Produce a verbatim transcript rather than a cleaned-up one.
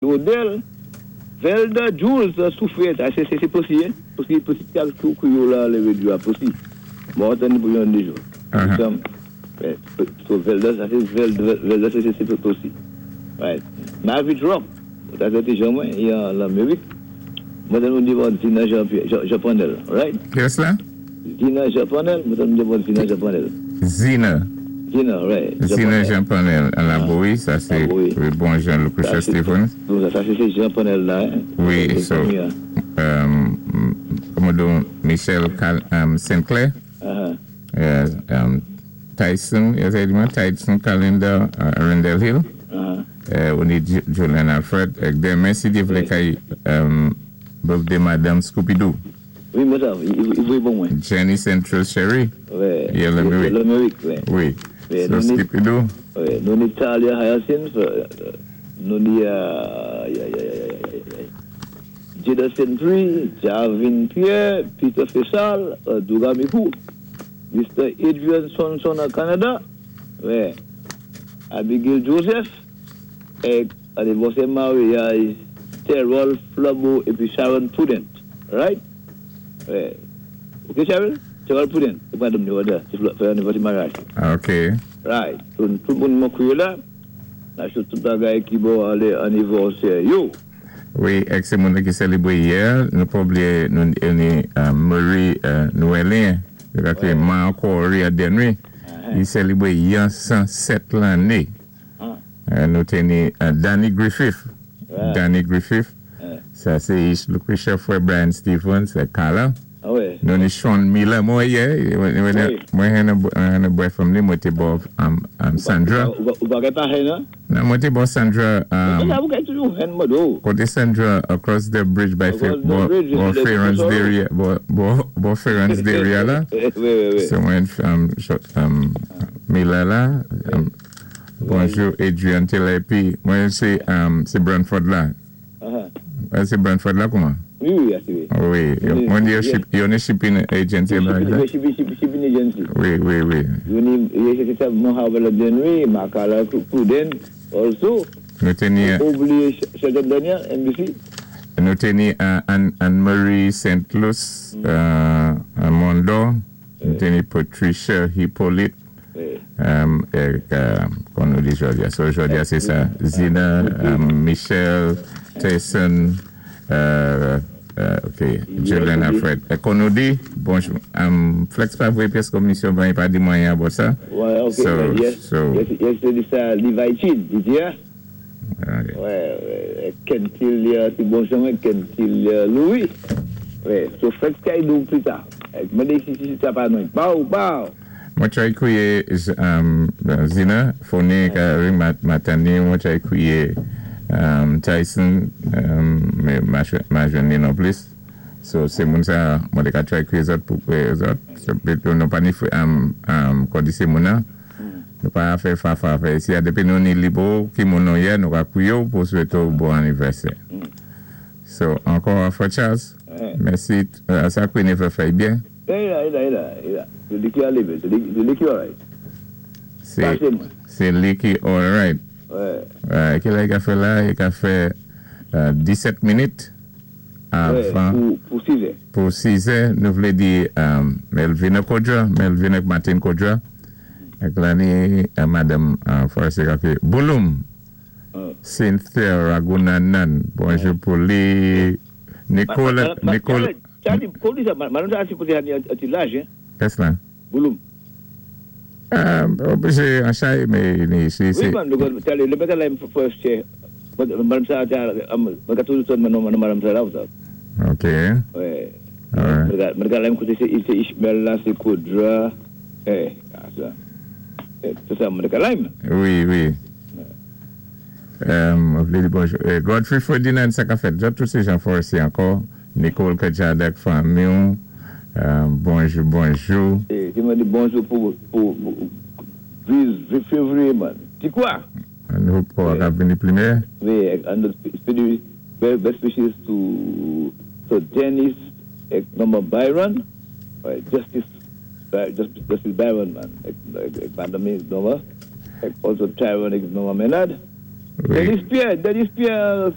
Odell, Velda Jules Soufrière, sé sé posi, hein? Posi, posi, kou la, lé posi. Bon, tann pou yon déja. So Velda, sa sé Velda, Velda sé sé posi. Right. Mavic Rock, sa sé ti jan mwen, i an Lamérik. Mwen nou di bon Zina Jean Jean Panel, right? Kiyès la? Zina Jean Panel, mwen nou di bon Zina Jean Panel. Zina. Zina, right. Zina Jean Panel, à la Bowie, sa sé bon Jean Lucretia Stevens. Sa sé Jean Panel la, hein? Wi, so, um, kòman don, Michel Cal um, Sinclair. Uh-huh. Yes, um, Tyson, yes, Tyson Calendar, uh, Randall Hill. Uh-huh. Uh, on ni Julian Alfred. Denmen, si Dye vlé, kay um, birthday Madame Scooby-Doo. Wi, mwen sa, i vwé bon mwen. Jenny Central Sherry. Wi. I Lamérik. Lamérik, wi. Wi. So Scooby-Doo. Wi, nou ni Talia Hyacinth, nou ni uh, ya, ya, ya, ya, ya, Jada Sentry, Javin Pierre, Peter Fessal, uh, Dougamikou, Mister Adrian Sonson à Canada, wi, Abigail Joseph, é anniversaire mariage, Terrell Flambeau épi Sharon Prudent. Right? Wi. OK, Sharon? Terrell Prudent. Sé pa madame sé fè anniversaire mariage. OK. Right. So, tout moun mwen kwiyé la, la sé tout bagay ki bon alé anniversaire yo. Wi, èk sé moun ki sélébwé yè, nou pa bliyé nou ni uh, Marie uh, Noëlin, ki man ankò a Denry, i sélébwé yon san sèt lanné. Uh, nou té ni uh, Danny Griffith. Danny Griffith. Sa sé Lucretia frè Brian Stevens, sé Carla. Ah wi. Nou ni Sean Miller, mwen yè, mwen hen a bwè from li, mwen té bo um, um, Sandra. Ou pa pa hen, hein? Non, mwen té bo Sandra. Um, Ou ka toujou hen mwen. Koté Sandra across the bridge by bo, bo Ferrance Dairy, bo, bo, bo Ferrance Dairy la. Wi, wi, wi. So mwen um, um, Miller la. Um, bonjou Adrian Taylor, épi mwen sé um, sé Brantford la. Uh-huh. Sé Brantford la kouman? Wi, wi, wi. Wi, mwen di yo ni shipping agency. Shipping, shipping agency. Wi, wi, wi. Yo ni, sé sa Mohamed Denry, Makala Pruden, also. Nou té ni Oubliyé Sheldon Daniel, N B C. Nou té ni Anne-Marie Saint Louis, uh, Mondo. Nou té ni Patricia Hippolyte. Um, èk, uh, kon nou di jòdi a. So jòdi a sé sa. Zina, um, Michelle, Tyson, uh, uh, OK, Julian Alfred. Kon nou di, bonjou, um, Flex pa voyé pyès komisyon, bon, i pa di mwen about sa. Wi, OK. So, yes, so, yes, yes, sé sa Levi Chin, di ya? Okay. Wi, wi, Kentil, ti bon chemen, Kentil Louis. Wi, so Flex kay nou pli ta. Mwen si si sa pa nou. Pow, pow. Mwen try kwiyé um, Zina, phone ka ring matani, mwen try kwiyé um, Tyson, um, mé ma jwenn ni non plis. So, sé moun sa, mwen té ka try kwiyé zòt pou kwiyé zòt. So, nou pa ni um, um, kon di sé moun nan, nou pa fè fa fa fè. Si a dépi nou ni libo, ki moun nou yé, nou ka kwiyé ou pou swété ou bon anniversaire. So, ankò frè Charles, mèsi, uh, sa kwiyé ni fè fè byen. Eh, la, la, la, la. Sé li ki alé, sé li ki alright. Sé, sé li ki alright. Wi. Ouais, ki lè i ka fè la? I ka fè uh, disèt minit avan Pou, pou sis è. Pou sis è, nou vlé di um, Melvina Kodra, Melvina Martin Kodra, èk la ni uh, Madame uh, Forrester ka Bouloum, Uh. Cynthia Ragunanan, bonjou pou li, Nicole, Nicole, Charlie, kon di sa, madame sa sipoze an ti laj, hein? Kès la? Bouloum. Um, sé an chay, mé ni, sé, Wi, sé, man, Charlie, lè bètè la first chair. Madame sa, mwen ka toujou son man madame sa la ou sa. OK. Wi. Alright. Mwen ka la m koté sé sé Ishmael la, sé Kodra. Eh, sa. Eh, sé sa mwen ka la m. Wi, wi. Um, vlé di bonjou. Eh, Godfrey Ferdinand sa ka fèt. Zòt tout sé jan Forestier ankò. Nicole Kajadek fanmi. Um, bonjou, bonjou. Eh, ti mwen di bonjou pou pou pou février, man. Ti kwa? Nou pou ka vini pli mé. Wi, and the best wishes to to Dennis èk Mama Byron, right, Justice Justice, Justice Byron, man. Èk, èk, èk Madame Noma, èk also Tyrone èk Mama Menard. Wi. Denis Pierre, Denis Pierre.